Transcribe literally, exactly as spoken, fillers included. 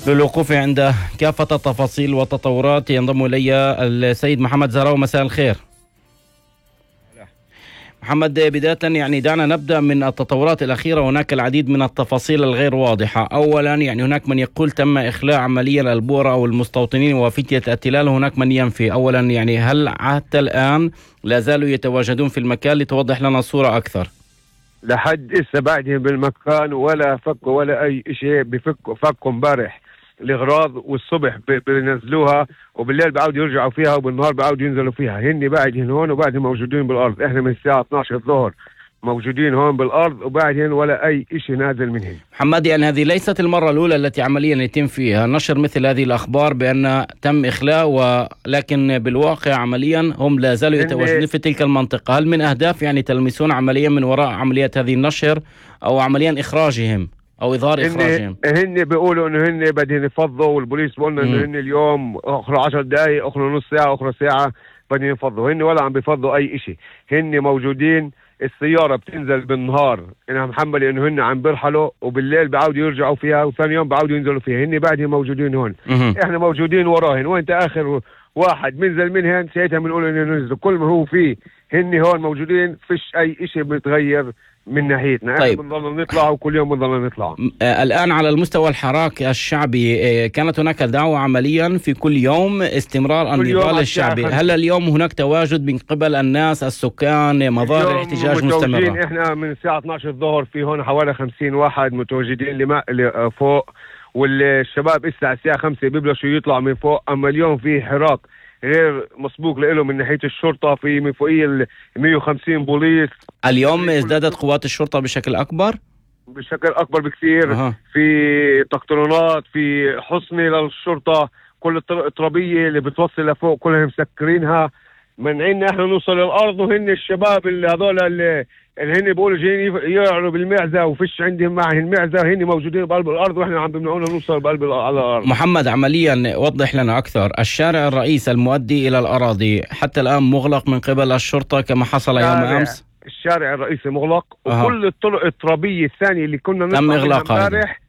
للوقوف عند كافة التفاصيل والتطورات ينضم إلي السيد محمد زهراوي. مساء الخير محمد. بداية يعني دعنا نبدأ من التطورات الأخيرة. هناك العديد من التفاصيل الغير واضحة. أولا يعني هناك من يقول تم إخلاء عمليا البورة أو المستوطنين وفتية التلال، هناك من ينفي. أولا يعني هل حتى الآن لا زالوا يتواجدون في المكان؟ لتوضح لنا الصورة أكثر. لحد إسا بعدهم بالمكان ولا فكوا ولا أي شيء. بفكوا فكوا امبارح الأغراض والصبح بينزلوها وبالليل بعودوا يرجعوا فيها وبالنهار بعودوا ينزلوا فيها. هني بعدهم هون وبعدهم موجودين بالأرض. إحنا من الساعة اثني عشر الظهر موجودين هون بالأرض وبعدين ولا أي شيء نازل منهم. محمد يعني هذه ليست المرة الأولى التي عمليا يتم فيها نشر مثل هذه الأخبار بأن تم إخلاء، ولكن بالواقع عمليا هم لا زالوا يتواجدون في تلك المنطقة. هل من أهداف يعني تلمسون عمليا من وراء عملية هذه النشر أو عمليا إخراجهم أو إظهار إخراجهم؟ هن بيقولوا إنه هن بدهم يفضوا، والبوليس بيقولنا إنه هن اليوم أخر عشر دقائق أخر نص ساعة أخر ساعة بدهم يفضوا. هن ولا عم بيفضوا أي إشي. هن موجودين. السيارة بتنزل بالنهار إنها محملة إنه هن عم بيرحلوا وبالليل بعودوا يرجعوا فيها وثاني يوم بعودوا ينزلوا فيها. هن بعدهم موجودين هون. إحنا موجودين وراهن. وإنت آخر واحد منزل منهن ساعتها بنقول إنه ننزلوا. كل ما هو فيه هن هون موجودين، فيش أي إشي بيتغير من ناحيتنا. طيب. احنا بنضل نطلع وكل يوم بنضل نطلع. آه الآن على المستوى الحراك الشعبي آه كانت هناك دعوة عمليا في كل يوم استمرار النضال الشعبي. هل اليوم هناك تواجد من قبل الناس السكان، مظاهر الاحتجاج مستمرة؟ احنا من الساعة اثني عشر الظهر في هون حوالي خمسين واحد متواجدين لما فوق، والشباب الساعة الساعة خمسة بيبلشوا يطلعوا من فوق. اما اليوم في حراك غير مسبوق له من ناحية الشرطة، في من فوقية مئة وخمسين بوليس. اليوم ازدادت قوات الشرطة بشكل أكبر؟ بشكل أكبر بكثير. أه. في تقطرونات، في حصنة للشرطة، كل الترابية اللي بتوصل لفوق كلها مسكرينها، منعينا احنا نوصل للأرض. وهن الشباب اللي هذول اللي اللي هن بيقولوا جايين يعروا بالمعزة وفيش عندهم معهم المعزة، هن موجودين بقلب الأرض واحنا عم بمنعونا نوصل بقلب على الأرض. محمد عمليا وضح لنا أكثر. الشارع الرئيسي المؤدي إلى الأراضي حتى الآن مغلق من قبل الشرطة كما حصل يوم أمس؟ الشارع الرئيسي مغلق. أه. وكل الطرق الترابية الثانية اللي كنا تم إغلاقها امبارح